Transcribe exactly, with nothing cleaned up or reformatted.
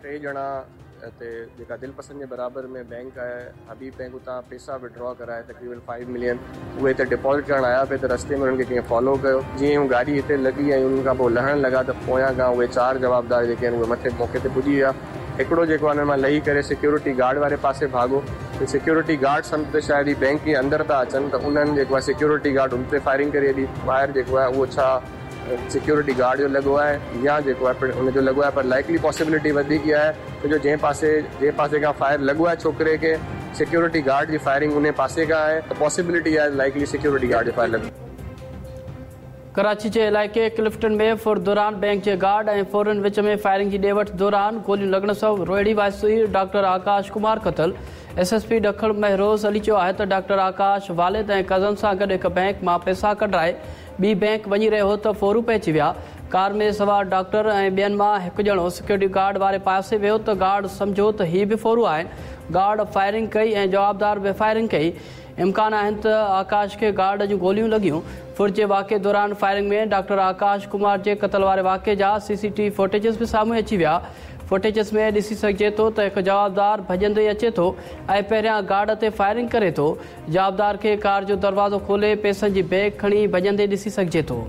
ٽي ڄڻا هتي جيڪا دل پسند جي برابر ۾ بينڪ آهي حبيب بينڪ اتان پئسا وڊرا ڪرائي تقريبن فائيو ملين اهي هتي ڊپازٽ ڪرڻ آيا پئي ته رستي ۾ انهن کي ڪنهن فالو ڪيو جيئن هو گاڏي هتي لڳي ۽ انهن کان پوء لهڻ لڳا ته پويان کان اهي چار جوابدار جيڪي آهن اهي مٿي موقعي تي پڄي ويا هڪڙو جيڪو آهي انهن مان لهي ڪري سيڪيورٽي گارڊ واري پاسي ڀاڳو ته سيڪيورٽي گارڊ سمجهه ته شايد هي بينڪ جي اندر ٿا اچن ته انهن جيڪو آهي سيڪيورٽي گارڊ ان تي فائرنگ ڪري ڇڏي فائر جيڪو آهي اهو ڇا سيڪيورٽي گارڊ جو لڳو آهي يا جيڪو آهي پڻ ان جو لڳو آهي پر لائيڪلي پاسيبلٽي وڌيڪ اها آهي ته جو جنهن پاسي جنهن پاسي کان فائر لڳو آهي ڇوڪري کي سيڪيورٽي گارڊ جي فائرنگ ان پاسي کان آهي ته پاسيبلٽي آهي لائيڪلي سيڪيورٽي گارڊ جو فائر لڳو. ڪراچي جي علائقي ڪلفٽن ۾ ڦر دوران بينڪ جي گارڊ ۽ ڦورن وچ ۾ فائرنگ جي ڏي وٺ دوران گوليون لڳڻ سبب روهڙي واسي ڊاڪٽر آڪاش ڪمار قتل. ايس ايس پي ڏکڻ مهروز علي چيو آهي ته ڊاڪٽر آڪاش والد ۽ ڪزن سان گڏ هڪ بينڪ مان پئسا ڪڍرائي ٻي بينڪ وڃي رهيو هو ته ڦورو پهچي ويا. ڪار ۾ سوار ڊاڪٽر ۽ ٻين مان هڪ ڄڻو سيڪيورٽي گارڊ واري پاسي ويو ته گارڊ سمجهيو ته هي به ڦورو آهن. گارڊ فائرنگ ڪئي ۽ جوابدار به فائرنگ ڪئي. امڪان آهن ته آڪاش کي گارڊ جون گوليون لڳيون. ڦر جي واقعي دوران فائرنگ ۾ ڊاڪٽر آڪاش ڪمار جي قتل واري واقعي جا سي سي ٽي وي فوٽيجز به سامهون اچي ويا. فوٽيجز ۾ ڏسي سگهجي ٿو ته هڪ جوابدار ڀڄندي اچي ٿو ۽ پهريان گارڊ تي فائرنگ ڪري ٿو. جوابدار کي ڪار جو دروازو کولي پئسن جي بيگ کڻي ڀڄندي ڏسي سگهجي ٿو.